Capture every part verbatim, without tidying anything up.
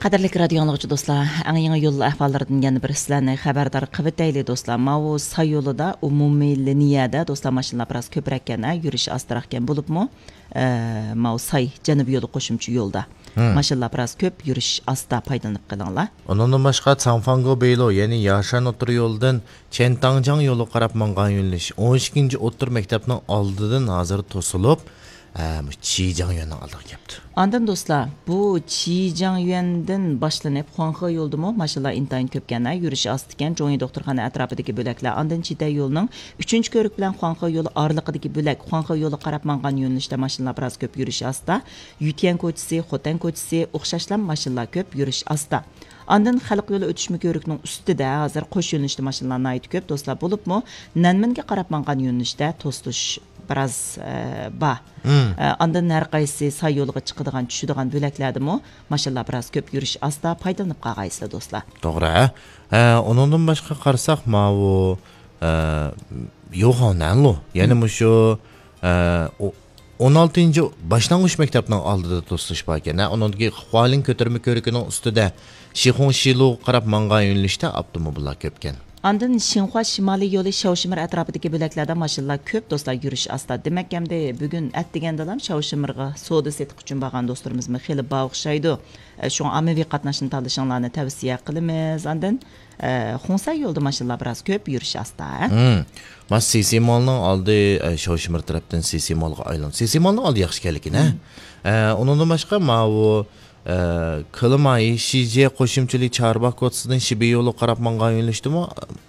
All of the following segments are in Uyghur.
قەدىرلىك رادىيو ئاڭلىغۇچى دوستلار، ئەڭ يېڭى يول ئەھۋاللىرىدىن يەنە بىر سىلەرنى خەۋەردار قىلىۋېتەيلى دوستلار. ماۋۇ ساي يولىدا، ئومۇمىي لىنىيەدە دوستلار، ماشىنىلار بىراز كۆپرەككەن، ھە، يۈرۈش ئاستىراقكەن بولۇپمۇ، ئە، ماۋۇ ساي جەنۇبىي يولى قوشۇمچە يولدا ماشىنىلار بىراز كۆپ، يۈرۈش ئاستا، پايدىلىنىپ قېلىڭلار. ئۇنىڭدىن باشقا، چاڭفاڭگو بېيلو، يەنى ياشەن ئوتتۇرا يولىدىن چيەنتاڭجياڭ يولىغا قاراپ ماڭغان يۆنىلىش ئون ئىككىنچى ئوتتۇرا مەكتەپنىڭ ئالدىدىن ھازىر توسۇلۇپ، ھە، مۇشۇ چىجياڭيۈەننىڭ ئالدىغا كەپتۇ. ئاندىن دوستلار، بۇ چىجياڭيۈەندىن باشلىنىپ، خۇاڭخې يولىدىمۇ ماشىنىلار ئىنتايىن كۆپكەن، ھە، يۈرۈشى ئاستا ئىكەن. جۇڭيى دوختۇرخانا ئەتراپىدىكى بۆلەكلەر، ئاندىن چىتەي يولىنىڭ ئۈچىنچى كۆۋرۈك بىلەن خۇاڭخې يولى ئارىلىقىدىكى بۆلەك، خۇاڭخې يولىغا قاراپ ماڭغان يۆنىلىشتە ماشىنىلار بىراز كۆپ، يۈرۈشى ئاستا. يۈتيەن كوچىسى، خوتەن كوچىسى، ئوخشاشلا ماشىنىلار كۆپ، يۈرۈش ئاستا. ئاندىن خەلق يولى ئۆتۈشمە كۆۋرۈكىنىڭ ئۈستىدە ھازىر قوش يۆنىلىشتە ماشىنىلار ناھايىتى كۆپ، دوستلار، بولۇپمۇ نەنمىنگە قاراپ ماڭغان يۆنىلىشتە توسۇلۇش بىراز، ئە، بار. ئە، ئاندىن ھەر قايسى ساي يولىغا چىقىدىغان، چۈشىدىغان بۆلەكلەردىمۇ ماشىنىلار بىراز كۆپ، يۈرۈش ئاستا، پايدىلىنىپ قالغايسىلەر، دوستلار. توغرا. ئە، ئۇنىڭدىن باشقا قارىساق، ماۋۇ، ئە، يوخاۋنەنلۇ، يەنە مۇشۇ، ئە، ئو-، ئون ئالتىنچى باشلانغۇچ مەكتەپنىڭ ئالدىدا توسۇلۇش باركەن. ھە، ئۇنىڭدىكى خۇالىڭ كۆتۈرمە كۆۋرۈكىنىڭ ئۈستىدە شىخۇڭ شىلۇغا قاراپ ماڭغان يۆنىلىشتە ئاپتوموبىللار كۆپكەن. ئاندىن شىنخۇا شىمالىي يولى شاۋشىمىر ئەتراپىدىكى بۆلەكلەردە ماشىنىلار كۆپ، دوستلار، يۈرۈش ئاستا. دېمەك، ئەمدى بۈگۈن ئەتىگەندىلا شاۋشىمىرغا سودا سېتىق ئۈچۈن بارغان دوستلىرىمىزمۇ خېلى بار ئوخشايدۇ. ئە، شۇڭا ئاممىۋى قاتناشنى تاللىشىڭلارنى تەۋسىيە قىلىمىز. ئاندىن، ئە، خۇڭسەي يولىدا ماشىنىلار بىراز كۆپ، يۈرۈش ئاستا. مم. مانا سىسىمالنىڭ ئالدى، ئە، شاۋشىمىر تەرەپتىن سىسىمالغا ئايلىنىدۇ. سىسىمالنىڭ ئالدى ياخشى ئىكەنلىكىنى، ھە؟ ئە، ئۇنىڭدىن باشقا ماۋۇ، ئە، كىلىماي، شىجيې قوشۇمچىلىك چارباغ كوچىسىدىن شىبى يولىغا قاراپ ماڭغان يۆنىلىشتىمۇ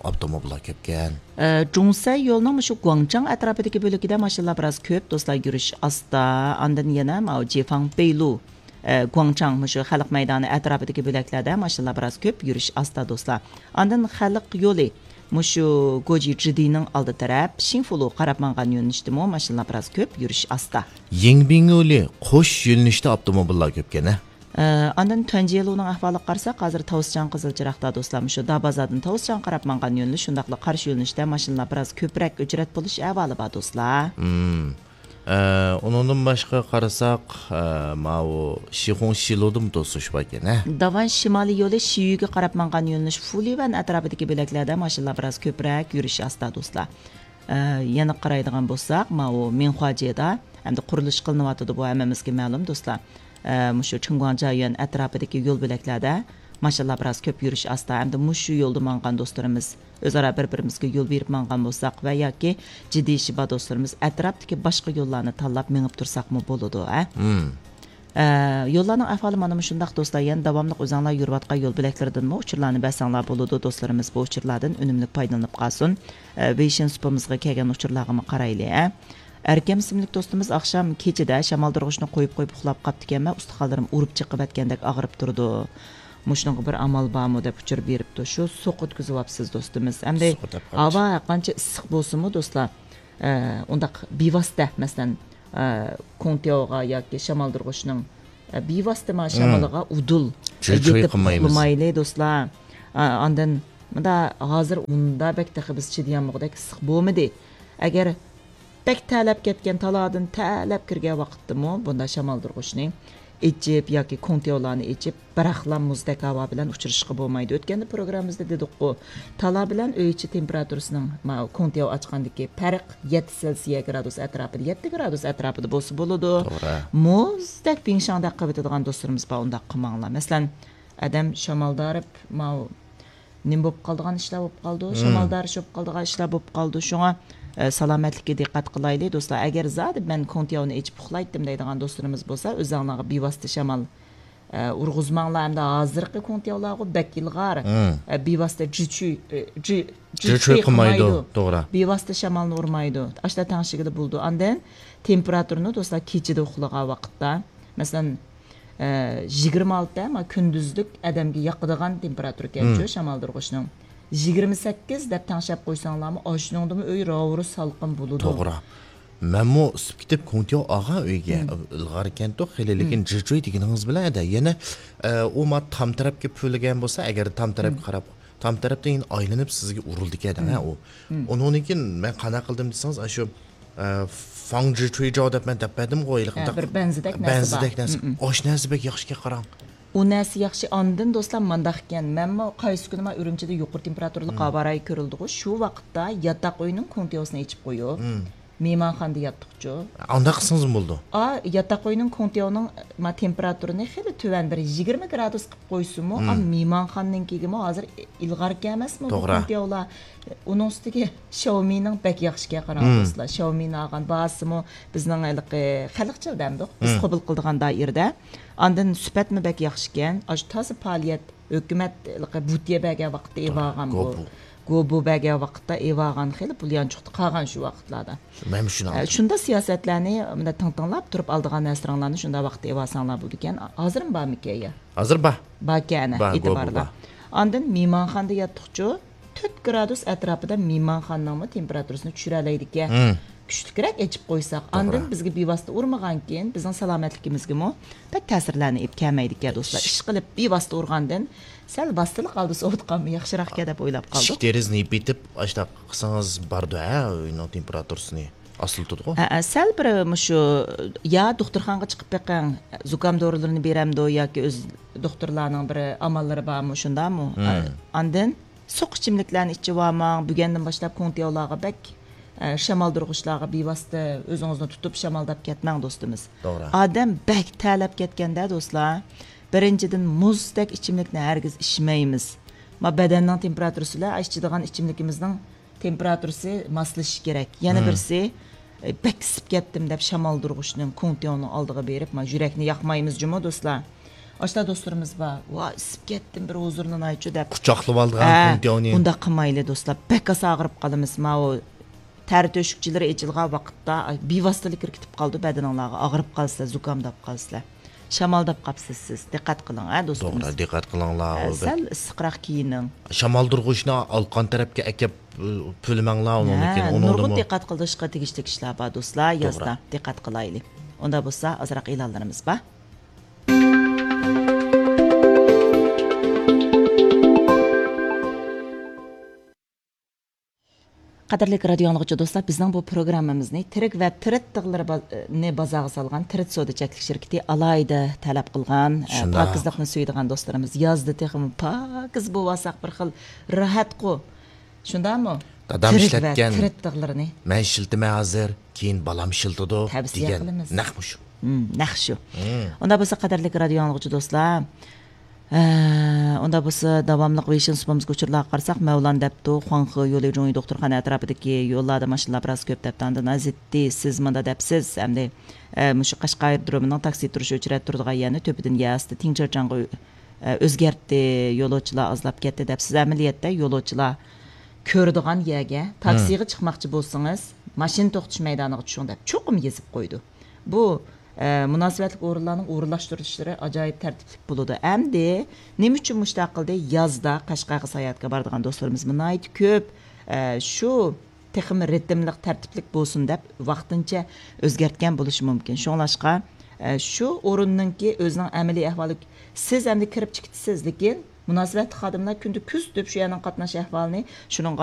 ئاپتوموبىللار كۆپكەن. ئە، جۇڭسەي يولىنىڭ مۇشۇ گۇاڭچاڭ ئەتراپىدىكى بۆلىكىدە ماشىنىلار بىراز كۆپ، دوستلار، يۈرۈش ئاستا. ئاندىن يەنە ماۋۇ جېفاڭ پېيلۇ، ئە، گۇاڭچاڭ، مۇشۇ خەلق مەيدانى ئەتراپىدىكى بۆلەكلەردە ماشىنىلار بىراز كۆپ، يۈرۈش ئاستا، دوستلار. ئاندىن خەلق يولى، مۇشۇ گوجى جىدىنىڭ ئالدى تەرەپ، شىنفۇلۇغا قاراپ ماڭغان يۆنىلىشتىمۇ ماشىنىلار بىراز كۆپ، يۈرۈش ئاستا. يىڭبىڭ يولى قوش يۆنىلىشتە ئاپتوموبىللار كۆپكەن، ھە؟ ئە، ئاندىن تۈەنجيېلۇنىڭ ئەھۋالىغا قارىساق، ھازىر تاۋسىچاڭ قىزىل چىراغدا، دوستلار، مۇشۇ دابازادىن تاۋسىچاڭغا قاراپ ماڭغان يۆنىلىش، شۇنداقلا قارشى يۆنىلىشتە ماشىنىلار بىراز كۆپرەك ئۆچرەت بولۇش ئەھۋالى بار، دوستلار. مم. ئە، ئۇنىڭدىن باشقا قارىساق، ئە، ماۋۇ شىخۇڭ شىلۇدىمۇ توسۇش باركەن، ھە؟ داۋان شىمالىي يولى شىيۈگە قاراپ ماڭغان يۆنىلىش فۇلىۋەن ئەتراپىدىكى بۆلەكلەردە ماشىنىلار بىراز كۆپرەك، يۈرۈشى ئاستا، دوستلار. ئە، يەنە قارايدىغان بولساق، ماۋۇ مىنخۇاجيېدا ئەمدى قۇرۇلۇش قىلىنىۋاتىدۇ، بۇ ھەممىمىزگە مەلۇم، دوستلار. ئە، مۇشۇ چىڭگۇاڭجيۈەن ئەتراپىدىكى يول بۆلەكلەردە ماشىنىلار بىراز كۆپ، يۈرۈش ئاستا، ھەمدە مۇشۇ يولدا ماڭغان دوستلىرىمىز ئۆزئارا بىر-بىرىمىزگە يول بېرىپ ماڭغان بولساق ۋە ياكى جىددىي ئىشى بار دوستلىرىمىز ئەتراپتىكى باشقا يوللارنى تاللاپ مېڭىپ تۇرساقمۇ بولىدۇ، ھە؟ مم. ئە، يوللارنىڭ ئەھۋالى مانا مۇشۇنداق، دوستلار. يەنە داۋاملىق ئۆزۈڭلار يۈرۈۋاتقان يول بۆلەكلىرىدىنمۇ ئۇچۇرلارنى بەرسەڭلار بولىدۇ، دوستلىرىمىز بۇ ئۇچۇرلاردىن ئۈنۈملۈك پايدىلىنىپ قالسۇن. ئە، ۋېيشىن سۇپىمىزغا كەلگەن ئۇچۇرلارغىمۇ قارايلى، ھە. ئەركەم ئىسىملىك دوستىمىز ئاخشام كېچىدە شامالدۇرغۇچنى قويۇپ قويۇپ ئۇخلاپ قاپتىكەنمەن، ئۇستىخانلىرىم ئۇرۇپ چېقىۋەتكەندەك ئاغرىپ تۇرىدۇ. مۇشۇنىڭغا بىر ئامال بارمۇ دەپ ئۇچۇر بېرىپتۇ. شۇ سوق ئۆتكۈزۈۋاپسىز دوستىمىز. ئەمدى سوق ئۆتۈپ قاپتۇ. ھاۋا ھەرقانچە ئىسسىق بولسىمۇ دوستلار، ئە، ئۇنداق بىۋاسىتە، مەسىلەن، ئە، كوڭتياۋغا ياكى شامالدۇرغۇچنىڭ، ئە، بىۋاسىتە ما شامىلىغا ئۇدۇل، جىرچۇي يېتىپ قىلمايمىز. ئۇخلىمايلى دوستلار. ئە، ئاندىن مۇندا ھازىر ئۇندا بەك تېخى بىز چىدىيالمىغۇدەك ئىسسىق بولمىدى. ئەگەر بەك تەرلەپ كەتكەن، تالادىن تەرلەپ كىرگەن ۋاقىتتىمۇ بۇنداق شامالدۇرغۇچنى ئېچىپ ياكى كوڭتياۋلارنى ئېچىپ، بىراقلا مۇزدەك ھاۋا بىلەن ئۇچرىشىشقا بولمايدۇ. ئۆتكەندە پروگراممىمىزدا دېدۇققۇ، تالا بىلەن ئۆي ئىچى تېمپېراتۇرىسىنىڭ، ما، كوڭتياۋ ئاچقاندىكى پەرق يەتتە سېلسىيە گرادۇس ئەتراپىدا، يەتتە گرادۇس ئەتراپىدا بولسا بولىدۇ. توغرا. مۇزدەك بىڭشاڭدەك قىلىۋېتىدىغان دوستلىرىمىز بار، ئۇنداق قىلماڭلار. مەسىلەن، ئادەم شامالدارىپ، ماۋۇ نېمە بولۇپ قالىدىغان ئىشلار بولۇپ قالىدۇ، شامالدارىشىپ قالىدىغان ئىشلار بولۇپ قالىدۇ. شۇڭا، ئە، سالامەتلىككە دىققەت قىلايلى، دوستلار. ئەگەر زادى مەن كوڭتياۋنى ئېچىپ ئۇخلايتتىم دەيدىغان دوستلىرىمىز بولسا، ئۆزۈڭلارغا بىۋاسىتە شامال، ئە، ئۇرغۇزماڭلار. ئەمدى ھازىرقى كوڭتياۋلارغۇ بەك ئىلغار. ئە، بىۋاسىتە جىچۈي، ئە، جى-، جىچۈي جىچۈي قىلمايدۇ. قىلمايدۇ. توغرا. بىۋاسىتە شامالنى ئۇرمايدۇ. ئاشتا تەڭشىگىلى بولىدۇ. ئاندىن تېمپېراتۇرىنى، دوستلار، كېچىدە ئۇخلىغان ۋاقىتتا، مەسىلەن، ئە، يىگىرمە ئالتە، ما، كۈندۈزلۈك ئادەمگە ياقىدىغان تېمپېراتۇرىكەنچۇ شامالدۇرغۇچنىڭ. يىگىرمە سەككىز دەپ تەڭشەپ قويساڭلارمۇ، ئاشۇنىڭدىمۇ ئۆي راۋۇرۇس سالقىن بولىدۇ. توغرا. مەنمۇ ئىسسىپ كېتىپ كوڭتياۋ ئالغان ئۆيگە. ئىلغار ئىكەنتۇ خېلى، لېكىن جىچۈي دېگىنىڭىز بىلەن ئەدە يەنە، ئە، ئۇ ما تام تەرەپكە پۈۋلىگەن بولسا، ئەگەر تام تەرەپكە قاراپ، تام تەرەپتىن يەنە ئايلىنىپ سىزگە ئۇرۇلىدىكەن، ھە، ئۇ. ئۇنىڭدىن كېيىن مەن قانداق قىلدىم دېسىڭىز، ئاشۇ ئە، فاڭ جىچۈيجاۋ دەپ مەن دەپ بەردىمغۇ، ھېلىقى ھە، بىر بەنزىدەك نەرسە بار. بەنزىدەك نەرسە. ئاشۇ نەرسە بەك ياخشىكەن، قاراڭ. ئۇ نەرسە ياخشى. ئاندىن دوستلار مانداق ئىكەن، مەنمۇ قايسى كۈنى ما ئۈرۈمچىدە يۇقىرى تېمپېراتۇرىلىق ھاۋا رايى كۆرۈلدىغۇ، شۇ ۋاقىتتا ياتاق ئۆينىڭ كوڭتياۋىسىنى ئېچىپ قويۇپ، مېھمانخانىدا ياتتۇقچۇ. ئانداق قىلسىڭىزمۇ بولىدۇ. ئا، ياتاق ئۆينىڭ كوڭتياۋىنىڭ ما تېمپېراتۇرىنى خېلى تۆۋەن، بىر يىگىرمە گرادۇس قىلىپ قويسىمۇ، ئا، مېھمانخانىنىڭكىگىمۇ ھازىر ئىلغاركەن ئەمەسمۇ بۇ كوڭتياۋلار؟ ئۇنىڭ ئۈستىگە شاۋمىنىڭ بەك ياخشىكەن، قاراڭ دوستلار. شاۋمىنى ئالغان، باھاسىمۇ بىزنىڭ ھېلىقى خەلقچىل دەمدۇق، بىز قوبۇل قىلىدىغان دائىرىدە. ئاندىن سۈپەتمۇ بەك ياخشىكەن. ئاشۇ تازا پائالىيەت، ھۆكۈمەت ھېلىقى بۇتيە بەرگەن ۋاقىتتا ئېلىۋالغان بۇ. گوبۇ. گوبۇ بەرگەن ۋاقىتتا ئېلىۋالغان خېلى پۇل يانچۇقتا قالغان شۇ ۋاقىتلاردا. مەنمۇ شۇنى ئە، ئالدىم. شۇنداق سىياسەتلەرنى مۇنداق تىڭ تىڭلاپ تۇرۇپ ئالىدىغان نەرسىلىرىڭلارنى شۇنداق ۋاقىتتا ئېلىۋالساڭلار بولىدىكەن. ھازىرمۇ بارمىكەن يا؟ ھازىر بار. باركەن، بار، ئېتىبارلا. گوبۇ بار. ئاندىن مېھمانخانىدا ياتتۇقچۇ، تۆت گرادۇس ئەتراپىدا مېھمانخانىنىڭمۇ تېمپېراتۇرىسىنى چۈشۈرەلەيدىكەن. كۈچلۈكرەك ئېچىپ قويساق، ئاندىن بىزگە بىۋاسىتە ئۇرمىغانكىن، بىزنىڭ سالامەتلىكىمىزگىمۇ بەك تەسىرلەرنى ئېلىپ كەلمەيدىكەن دوستلار. ئىش قىلىپ بىۋاسىتە ئۇرغاندىن سەل ۋاسىتىلىق ھالدا سوۋۇتقانمۇ ياخشىراقكەن دەپ ئويلاپ قالدۇق. ئىشىك دېرىزىنى يېپىۋېتىپ ئاشۇنداق قىلسىڭىز بارىدۇ ھە، ئۆينىڭ تېمپېراتۇرىسىنى ئاستىلىتىدىغۇ. ھە، ھە، سەل بىر مۇشۇ يا دوختۇرخانىغا چىقىپ بېقىڭ، زۇكام دورىلىرىنى بېرەمدۇ ياكى ئۆز دوختۇرلارنىڭ بىر ئاماللىرى بارمۇ، شۇنداقمۇ؟ ئاندىن سۇيۇق ئىچىملىكلەرنى ئىچىۋالماڭ. بۈگۈندىن باشلاپ كوڭتياۋلارغا بەك، ئە، شامالدۇرغۇچلارغا بىۋاسىتە ئۆزىڭىزنى تۇتۇپ شامالداپ كەتمەڭ دوستىمىز. توغرا. ئادەم بەك تەرلەپ كەتكەندە دوستلار، بىرىنچىدىن مۇزدەك ئىچىملىكنى ھەرگىز ئىچمەيمىز. ما بەدەننىڭ تېمپېراتۇرىسى بىلەن ئىچىدىغان ئىچىملىكىمىزنىڭ تېمپېراتۇرىسى ماسلىشىشى كېرەك. يەنە بىرسى، ئە، بەك ئىسسىپ كەتتىم دەپ شامالدۇرغۇچنىڭ، كوڭتياۋنىڭ ئالدىغا بېرىپ، ما يۈرەكنى ياقمايمىز جۇمۇ دوستلار. ئاشۇنداق دوستلىرىمىز بار. ۋاي، ئىسسىپ كەتتىم، بىر ھۇزۇرلىنايچۇ دەپ. قۇچاقلىۋالىدىغان ھە، كوڭتياۋنى. ئۇنداق قىلمايلى دوستلار. بەك ئاسان ئاغرىپ قالىمىز. ماۋۇ تەر تۆشۈكچىلىرى ئېچىلغان ۋاقىتتا، ئاي، بىۋاسىتىلىك كىرىپ قالىدۇ بەدىنىڭلارغا. ئاغرىپ قالىسىلەر، زۇكامداپ قالىسىلەر. شامالداپ قاپسىز سىز. دىققەت قىلىڭ، ھە، دوستىمىز. توغرا، دىققەت قىلىڭلار. ھە، سەل ئىسسىقراق كىيىنىڭ. شامالدۇرغۇچنى ئالقان تەرەپكە ئەكەپ، ئە، پۈۋلىمەڭلار، ئۇنىڭدىن ھە، كېيىن نۇرغۇن ئۇنىڭدىمۇ دىققەت قىلىشقا تېگىشلىك ئىشلار بار، دوستلار، توغرا. يازدا. دىققەت قىلايلى. ئۇنداق بولسا، ئازراق ئېلانلىرىمىز بار. قەدىرلىك رادىيو ئاڭلىغۇچى دوستلار، بىزنىڭ بۇ پروگراممىمىزنى تىرىك ۋە تىرىت تىغلىرى با-، نى بازارغا سالغان تىرىت سودا چەكلىك شىركىتى ئالاھىدە تەلەپ قىلغان، ئە، شۇنداق. پاكىزلىقنى سۆيىدىغان دوستلىرىمىز يازدا تېخىمۇ پاكىز بولۇۋالساق بىر خىل راھەتقۇ. شۇنداقمۇ؟ دادام تىرىك ۋە ئىشلەتكەن، تىرىت تىغلىرىنى. مەن ئىشلىتىمەن ھازىر، كېيىن بالام ئىشلىتىدۇ تەۋسىيە دېگەن قىلىمىز. نەق مۇشۇ. مم، نەق شۇ. مم. ئۇنداق بولسا، قەدىرلىك رادىيو ئاڭلىغۇچى دوستلار، ئە، ئۇنداق بولسا، داۋاملىق ۋېيشىن سۇپىمىزغا ئۇچۇرلارغا قارىساق، مەۋلان دەپتۇ، خۇاڭخې يولى جۇڭيى دوختۇرخانا ئەتراپىدىكى يوللاردا ماشىنىلار بىراز كۆپ دەپتۇ. ئاندىن ئازىتتى، سىز مۇنداق دەپسىز، ئەمدى، ئە، مۇشۇ قەشقەر ئايرودرومىنىڭ تاكسى تۇرۇش ئۆچرەت تۇرىدىغان يەرنى تۆپىدىن يەر ئاستى تىڭ چىرچاڭغا ئۆ-، ئە، ئۆزگەرتتى، يولۇچىلار ئازلاپ كەتتى دەپسىز. ئەمەلىيەتتە يولۇچىلار كۆرىدىغان يەرگە، تاكسىغا چىقماقچى بولسىڭىز، ماشىنا توختىتىش مەيدانىغا چۈشۈڭ دەپ چوقۇم يېزىپ قويىدۇ. بۇ، ئە، مۇناسىۋەتلىك ئورۇنلارنىڭ ئورۇنلاشتۇرۇشلىرى ئاجايىپ تەرتىپلىك بولىدۇ. ئەمدى نېمە ئۈچۈن مۇشۇنداق قىلدى؟ يازدا قەشقەرگە ساياھەتكە بارىدىغان دوستلىرىمىزمۇ ناھايىتى كۆپ. ئە، شۇ تېخىمۇ رىتىملىق، تەرتىپلىك بولسۇن دەپ ۋاقتىنچە ئۆزگەرتكەن بولۇشى مۇمكىن. شۇڭلاشقا، ئە، شۇ ئورۇننىڭكى ئۆزىنىڭ ئەمەلىي ئەھۋالى، سىز ئەمدى كىرىپ چىقىپسىز، لېكىن مۇناسىۋەتلىك خادىملار كۈندە كۆزىتىپ شۇ يەرنىڭ قاتناش ئەھۋالىنى، شۇنىڭغا